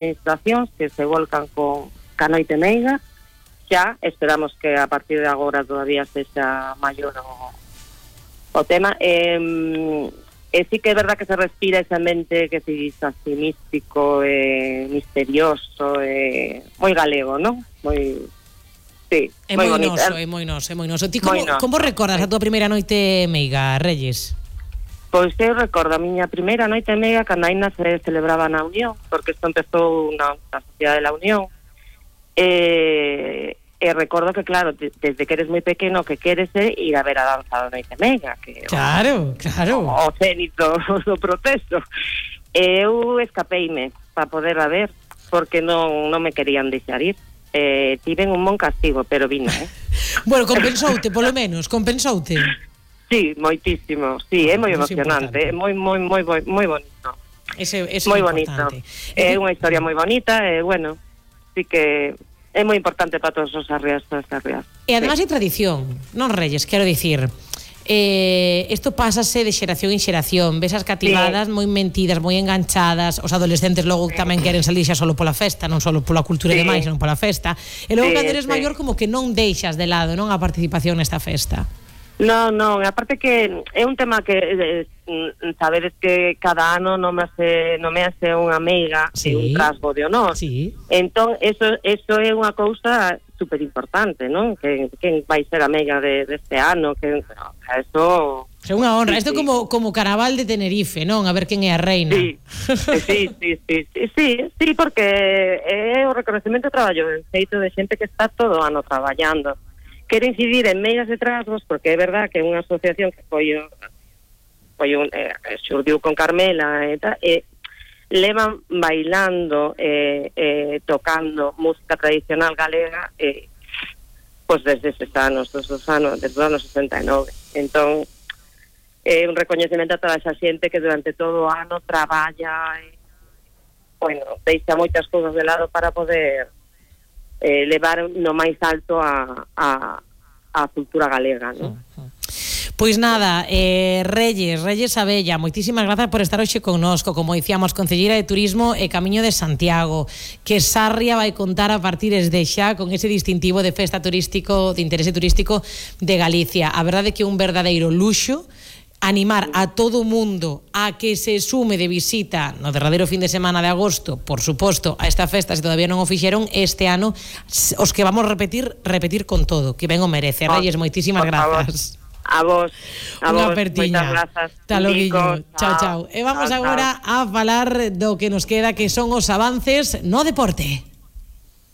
administracións que se volcan ca noite meiga. Xa esperamos que a partir de agora todavía sexa maior o tema. Sí que é verdad que se respira ese ambiente que se diz así místico, misterioso, moi galego, non? Sí, é moi moi bonito. noso, é moi noso. Ti como recordas a tua primeira noite meiga, Reyes? Pois eu recordo a miña primeira noite meiga cando aínda se celebraba na Unión, porque isto empezou na Sociedade de la Unión. E recordo que, claro, desde que eres moi pequeno, que queres ir a ver a danza da noite meiga, que claro. o cénito do proceso. Eu escapeime para poder a ver, porque non me querían deixar ir. Tiven un bon castigo, pero vino, Bueno, compensoute, polo menos, compensoute. Sí, moitísimo. Sí, é moi emocionante, é moi bonito. Ese moi é bonito. importante. É unha historia moi bonita, bueno, sí que é moi importante para todos os arrias, todas as arrias. E además hai tradición, non, Reyes, quero dicir, isto pásase de xeración en xeración, ves as cativadas moi mentidas, moi enganchadas, os adolescentes logo tamén queren salir xa solo pola festa, non solo pola cultura e demais, senón pola festa, e logo cando eres maior como que non deixas de lado, non, a participación nesta festa. Non, aparte que é un tema que sabedes que cada ano nomease unha meiga e un trasgo de honor. Sí. Entón, eso é unha cousa super importante, non? Que vai ser a meiga deste ano, que eso é unha honra, isto como Carnaval de Tenerife, non? A ver quen é a reina. Sí, porque é o reconocemento do traballo feito de xente que está todo o ano traballando. Quero incidir en meigas de trasgos, porque é verdad que é unha asociación que xurdiu con Carmela levan bailando tocando música tradicional galega pois desde eses anos, desde os anos 69. Entón é un recoñecemento a toda esa xente que durante todo o ano traballa deixa moitas cousas de lado para poder levar no máis alto a cultura galega, non? Pois nada, Reyes Abella, moitísimas grazas por estar hoxe connosco, como dicíamos, concelleira de Turismo e Camiño de Santiago, que Sarria vai contar a partir de xa con ese distintivo de festa turístico, de interese turístico de Galicia. A verdade é que é un verdadeiro luxo animar a todo o mundo a que se sume de visita no derradeiro fin de semana de agosto, por suposto, a esta festa, se todavía non o fixeron, este ano, os que vamos repetir con todo, que ben o merece. Reyes, moitísimas grazas. A vos, moitas grazas. Taloguillo, chao. E vamos agora a falar do que nos queda, que son os avances no deporte.